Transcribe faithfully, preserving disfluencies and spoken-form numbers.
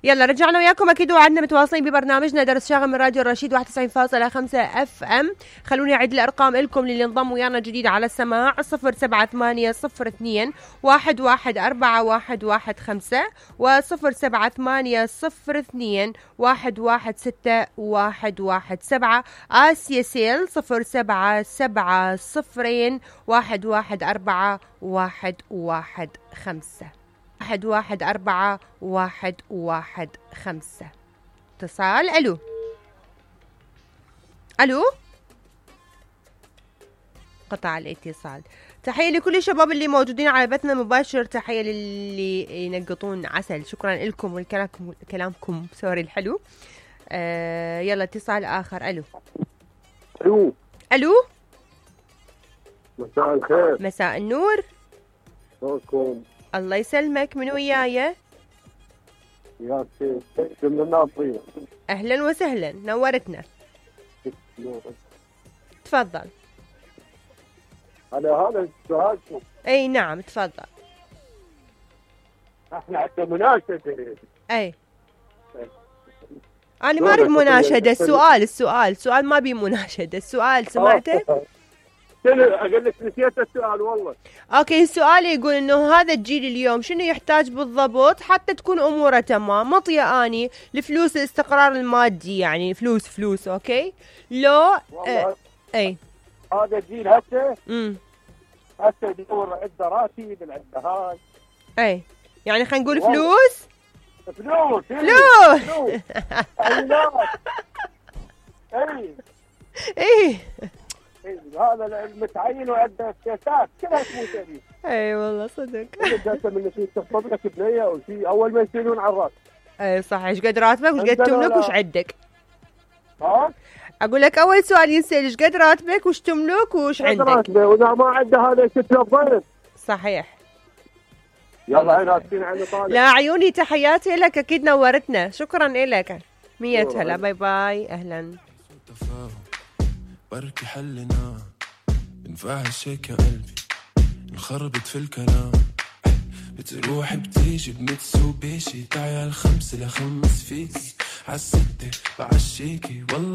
يلا رجعنا وياكم اكيد وعدنا متواصلين ببرنامجنا درس شاغل من راديو الرشيد واحد وتسعين فاصلة خمسة اف ام. خلوني اعيد الارقام لكم للي انضم ويانا جديد على السماع: صفر سبعة ثمانية صفر اثنين واحد واحد أربعة واحد واحد خمسة وصفر سبعة ثمانية صفر اثنين واحد واحد ستة واحد واحد سبعة. آسيا سيل صفر سبعة سبعة صفرين واحد واحد أربعة واحد واحد خمسة واحد واحد أربعة واحد واحد خمسة. اتصال. ألو ألو قطع الاتصال. تحية لكل الشباب اللي موجودين على بثنا المباشر، تحية للي ينقطون عسل، شكرا لكم والكلامكم كلامكم سوري الحلو. آه يلا اتصال آخر. ألو ألو ألو مساء الخير. مساء النور. شلونكم؟ الله يسلمك، من وياي؟ يا سيدي من الناصرية. أهلا وسهلا، نورتنا. تفضل. على هذا السؤال. اي نعم تفضل. احنا عندنا مناشدة. اي انا ما اريد مناشدة، السؤال السؤال السؤال ما بي مناشدة، السؤال سمعته؟ اقول لك نسيت السؤال والله. اوكي، السؤال يقول انه هذا الجيل اليوم شنو يحتاج بالضبط حتى تكون اموره تمام؟ مطيه اني الفلوس، الاستقرار المادي، يعني فلوس فلوس اوكي لو آه. اي هذا الجيل هسه امم هسه يدور عنده راتب عنده هاي. اي يعني خلينا نقول فلوس فلوس فلوس اي اي هذا المتعين وعنده سياسات كلها تموت به. اي والله صدق. انت من شيء تخطب لك بنيه او شيء اول ما يصيرون على الراس. اي صح. ايش قد راتبك وش قد تملك وش عندك؟ ها؟ اقول لك اول سؤال ينسال ايش قد راتبك وش تملك وش عندك؟ راتبه واذا ما عنده هذا يكتب الضرب. صحيح. يلا عين اسفين عن طالع. لا عيوني، تحياتي لك، اكيد نورتنا، شكرا لك. مية هلا، باي باي. اهلا. بركي حلنا نفعش هيك يا قلبي، نخربط في الكلام، بتروح بتيجي بمتسوبيشي، تعال خمسة لخمس فيكي عالستة بعشيكي والله.